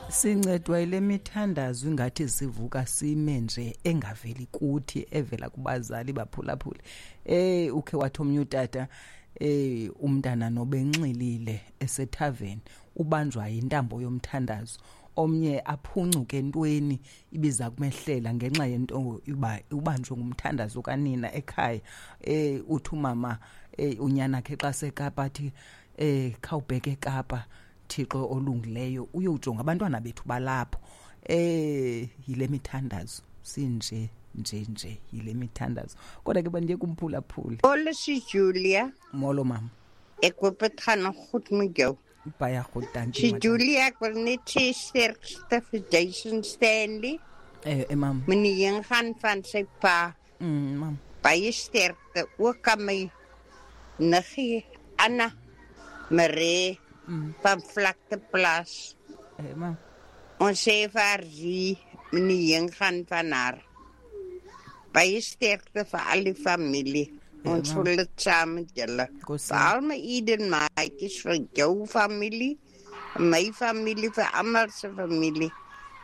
Sincedwa yile mithandazo ingathi sivuka sime nje, engaveli kuthi, evela kubazali baphulaphule. Ukhe wathi omnye utata, umntana nobenxilile esethaveni ubanjwa yintambo yomthandazo, omnye aphuncuke entweni ibiza kumehlela ngenxa yento uba ubanjwe ngumthandazo kanina ekhaya. Uthi umama, unyana khe xa seKapa athi, khawubheke eKapa, Thixo olungileyo, uyojonga abantwana bethu balapho. Yile mithandazo sinje nje nje, yile mithandazo. Kodwa ke bandiye kumphulaphula. Molo si Julia. Molo mama. Ek hoop dit gaan nog goed met jou. Baie goed, dankie. Si Madam. Julia, ek wil net sê sterkste vir Jason Stanley. Mam. Meneer gaan van sy pa. Mam. Baie sterkte ook aan my niggie Anna Marie van Vlakteplaas. Mam. Ons sê vir haar, zie, meneer gaan van haar. Baie sterkte vir al die familie. Ons Mam. voel dit saam met julle. Kos Vir al my Eden maatjies, vir jou familie, my familie, vir almal se familie.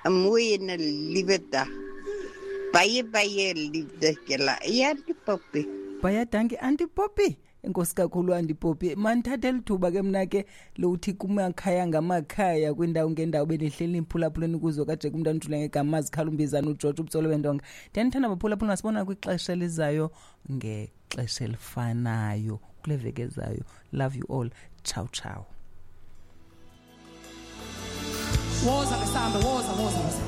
'n Mooi en 'n liewe dag. Baie, baie liefde julle. Ja, Auntie Poppy. Baie dankie, Auntie Poppy. Enkosi kakhulu, Auntie Poppy. Mandithathe lithuba ke mna ke lokuthi kumakhaya ngamakhaya, kwindawo ngendawo benihleli niphulaphuleni kuzo kajeke umntwana ujule ngegama zikhalumbizana uGeorge ubutsolo bendonga. Ndiyanithanda baphulaphula, masibona kwixesha elizayo ngexesha elifanayo kule veki ezayo. Love you all. Ciao ciao. Woza besambe, woza, woza, woza.